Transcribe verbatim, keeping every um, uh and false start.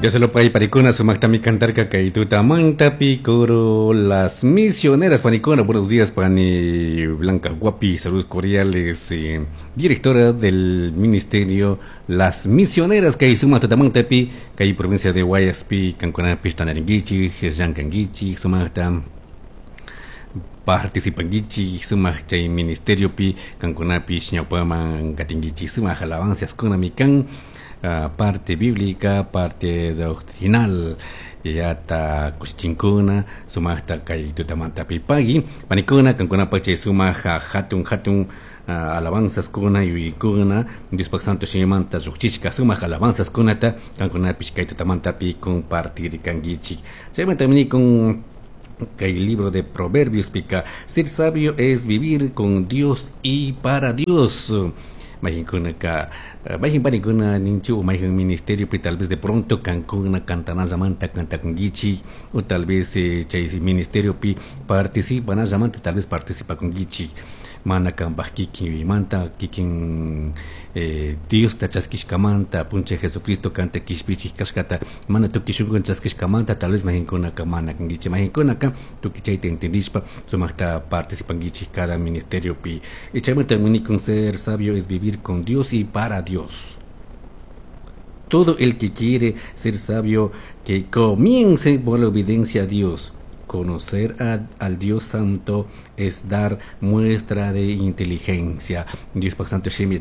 Dios panikuna sumaqtami cantarka kay tutamantapi coro Las Misioneras. Panikuna, buenos días, pani Blanca Guapi, saludos cordiales, eh, directora del ministerio Las Misioneras kay sumaq tutamantapi kay provincia de Guayaspi kankunapish tantariringuichik, llankanguichik sumaqta participanguichik sumaq chay ministeriopi kankunapish ñawpaman katinguichik sumaq alabanzaskunami kan uh, parte bíblica, parte doctrinal yata kushichinkuna sumaqta kay tutamantapi pagui panikuna kankunapak chay sumaq hatun hatun uh, alabanzaskunata yuyaykuna Diospak Santo Shimimanta llukchishka sumaq alabanzaskunata kankunapish kay tutamantapi compartirkanguichik. Chaymanta con el libro de Proverbios pica: ser sabio es vivir con Dios y para Dios. Mayqinkunaka mayqin panikuna ninchu mayqin ministerio pi tal vez de pronto kankuna cantanallamanta cantakunguichik o tal vez eh, chay ministerio pi participanallamanta tal vez participakunguichik mana kanpaj kikin yuyaymanta kikin eh, Diosta chaskishkamanta Apunchik Jesucristo kanta kishpichik kashkata mana tukuy shunkuwan chaskishkamanta tal vez mayqinkunaka mana kanguichik. Mayqinkunaka tukuy chayta entendishpa sumaqta participanguichik cada ministerio pi. Y chaymanta con ser sabio es vivir con Dios y para Dios. Todo el que quiere ser sabio, que comience por la obediencia a Dios. Conocer a, al Dios Santo es dar muestra de inteligencia. Dios Santo Shimi.